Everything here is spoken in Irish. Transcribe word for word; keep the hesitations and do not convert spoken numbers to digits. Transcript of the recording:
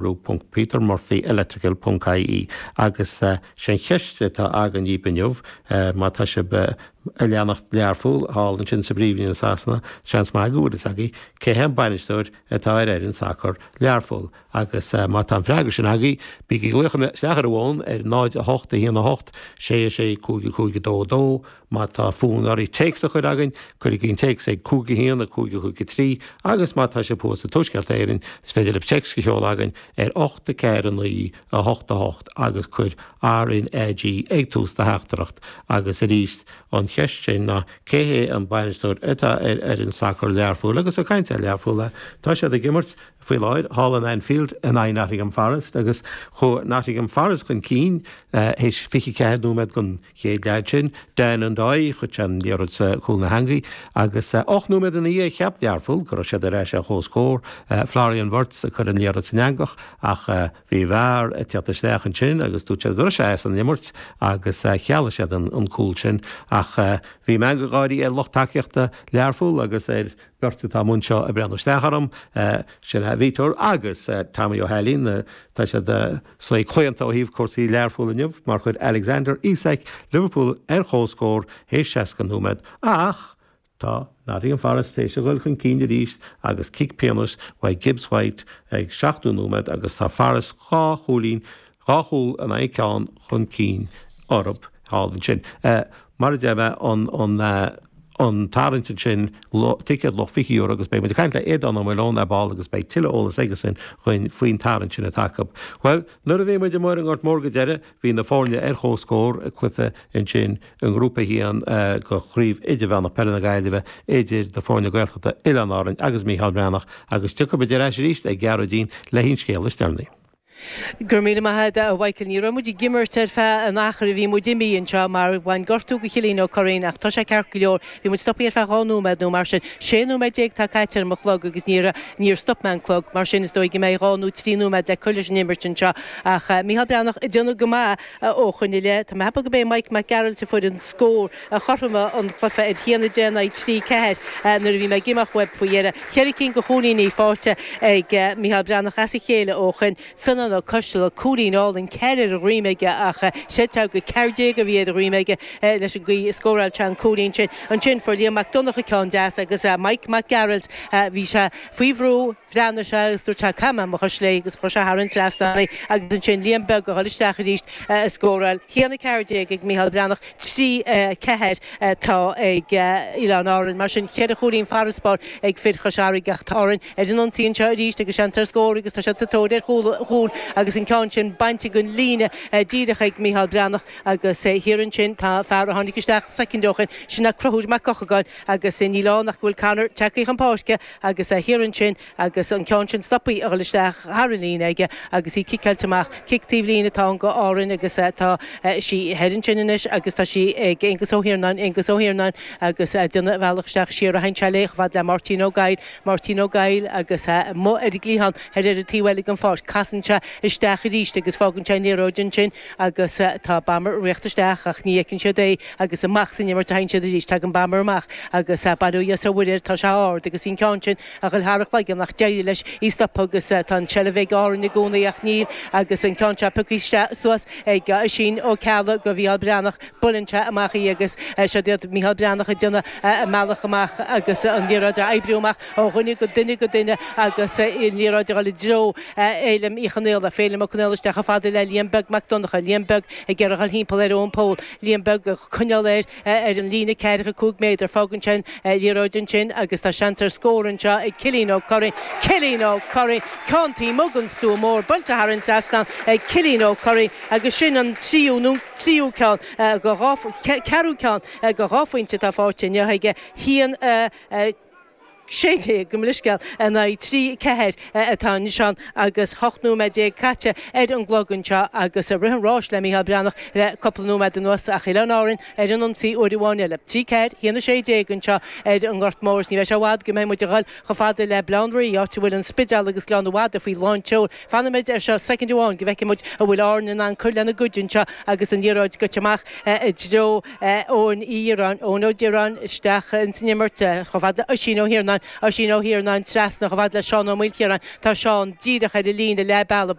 www.petermurphyelectrical ponc ie agus sin cheist atá againn inniu má tá sibh ag leanacht Learpholl thall ansin sa bPríomhroinn i Sasana seans maith go bhfuil fhios agaibh cé hé an bainisteoir atá ar fhoireann sacair Learpholl agus má tá an freagra sin agaibh bígí ag glaoch isteach ar an bhfón ar náid a hocht a haon a hocht sé a sé cúig cúig dó dó má tá fonn oraibh téacs a chur chugainn cuirigí an téacs ag cúig a haon a cúig a cúig a trí agus má tá sibh thuas i dTuaisceart Éireann is féidir libh téacs a sheoladh chugainn ar ocht a ceathair a naoi a hocht a hocht agus cuir RNAG ag tús do theachtaireacht agus arís an cheist sin ná cé hé an bainisteoir atá ar fhoireann sacair Learpholl agus ag caint ar Learpholl tá siad ag imirt faoi láthair thall in Anfield in aghaidh Nottingham Forest agus chuaigh Nottingham Forest chun cinn théis fiche ceathair nóiméad den chéad leath sin Dan Ndoye chuir sé an liathróid sa chúl na heangaí agus ocht nóiméad ina dhiaidh cheap Learpholl go raibh siad ar ais ar chomhscór Florian Wirtz a chuir an liathróid san eangach ach bhí VAR ag teacht isteach ansin agus dúirt siad go raibh sé as an imirt agus chealaigh siad an, an cúl sin ach bhí meangadh gáirí ar lucht tacaíochta Learpholl agus ar beirt atá anseo ag breathnú isteach orm sin Vítor agus Tommy Ó hAilín tá siad saghas claonta ó thaobh cúrsaí Learpholl inniu mar chuir Alexander Isak Liverpool ar chomhscór théis seasca nóiméad ach tá Nottingham Forest théis a dhul chun cinn arís agus cic pionóis uaidh Gibbs White ag seachtó nóiméad agus tá Forest dhá chúilín dhá chúl in aghaidh ceann chun cinn orthu thall ansin. Mar a deir mé an an an tarraingt ansin ticéad luach fiche euro agus beidh muid ag caint le Aodán Ó Maoileoin ar ball agus beidh tuilleadh eolas aigesan chugainn faoin tarraingt sin atá acu. Well, nuair a bhí muid amuigh ar an nGort Mór go deireadh, bhí na foirne ar chomhscór i cluiche ansin i ngrúpa a haon de chraobh idirmheánach peile na Gaillimhe idir na foirne Gaeltachta Oileáin Árann agus Mícheál Breathnach agus tiocfaidh muid ar ais arís ag Gearóidín le haon scéal is deireanaí. Go raibh míle maith agat a Mhichael ní raibh muid ag imirt ar feadh an achair a bhí muid imithe anseo mar bhain gortú go Chillín Ó Curraoin ach tá sé ceart go leor. Bhí muid stoptha ar feadh dhá nóiméad nó mar sin sé nóiméad déag tá caite ar mo chlog agus níor níor stop mé an clog mar sin is dóigh go mbeidh dhá nó trí nóiméad le cur leis an imirt anseo ach uh, Mícheál Breathnach ag déanamh go maith uh, ó shoin i leith Tá mé go bé Mike Mac Gearailt a fuair an scór a chothromaigh an cluiche ar haon a deich in aghaidh trí ceathair nuair a bhí mé ag imeacht uaibh faoi dheireadh. Ceithre cinn de chúilíní faighte ag uh, Mícheál Breathnach as a chéile ó shoin Fionnán Ó Coisteala cúilín álainn ceithre ar a dhroim aige ach sé go ceathair déag a bhí ar a dhroim aige leis an gcaoi a scóráil sé an cúilín sin. Ansin fuair Liam Mac Donncha ceann deas agus Mike Mac Gearailt bhí sé faoi bhrú bhreathnaigh sé agus dúirt sé cam mo léi agus chuir sé thar an trasnán agus ansin Liam Beag a dhul isteach arís a scóráil. Haon a ceathair déag ag Mícheál Breathnach trí ceathair tá ag Oileáin Árann mar sin ceithre chúilín farasbarr ag fir Chois Fharraige ach tá Árainn ar an ionsaí anseo arís agus seans ar scór agus tá siad sa tóir ar chúl agus an ceann sin bainte den líne díreach ag Mícheál Breathnach agus thiar ansin tá fear a tháinig isteach soicind ó shin sin ná Conchúr Mac Eochagáin agus níl ann ach go bhfuil Conor tagtha chun páirce agus thiar ansin agus an ceann sin stoptha a dhul isteach thar an líne aige agus í ciceáilte amach cic taobh líne atá go Árainn agus tá sí thiar ansin anois agus tá sí ag Aonghus Ó hIarnáin Aonghus Ó hIarnáin agus déanamh a bhealach isteach siar a hain le fad le Martin Ó Gaill Martin Ó Gaill agus mo ar an gcliathán ar ar an taobh eile den pháirc casann sé isteach arís agus fágann sé an liathróid ansin agus tá Bammer rite isteach ach ní fheiceann siad é agus amach san imirt a théann siad arís tagann Bammer amach agus bail ó Dhia is ar Mhuire tá sé ard agus bhí an ceann sin a dhul thar a chloigeann nach d'éirigh leis í stop agus tá an seilbh ag Árainn i gcónaí ach níl agus an ceann seo pioctha suas ag Oisín Ó Ceallaigh go Mhícheál Breathnach buaileann sé amach í agus seo iad Mícheál Breathnach ag déanamh a mbealach amach agus an liathróid a oibriú amach ó dhuine go duine go duine agus an liathróid a dhul i dtreo Fhéilim Uí Chonaola Féilim Ó Conaola isteach chomh fada le Liam Beag Mac Donncha Liam Beag ag iarraidh dhul thimpeall ar Eoin Pól Liam Beag coinneáil air ar an líne ceathracha cúig méadar fágann sin liathróid ansin agus tá seans ar scór anseo ag Cillian Ó Curraoin Cillian Ó Curraoin ceann taobh amuigh den stua mór buailte thar an trasnán ag Cillian Ó Curraoin agus sin an tríú nó tríú ceann go ceathrú ceann go dhá phointe atá faighte inniu aige haon sé déag go mlisceal in aghaidh trí ceathair atá anois agus ocht nóiméad déag caite ar an gclog anseo agus rith an ráis le Mícheál Breathnach le cúpla nóiméad anuas ach Oileáin Árann ar an ionsaí uair amháin eile. Trí ceathair, haon sé déag anseo ar an nGort Mór ní bheidh sé i bhfad go mbeidh muid ag dul chomh fada le Baile Átha an Rí áit a bhfuil an Spidéal agus Gleann na Madadh faoi lánseol. Fanfaimid ar seo soicind amháin go bhfeicfidh muid an bhfuil Árainn in ann cur lena gcuid anseo agus an liathróid goite amach i dtreo Eoin Uí Dhireáin Eoin Ó Direáin isteach in san imirt chomh fada Oisín Ó hIarnáin Oisín Ó hIarnáin trasna chomh fada le Seán Ó Maoilchiaráin. Tá Seán díreach ar an líne leath bealaigh.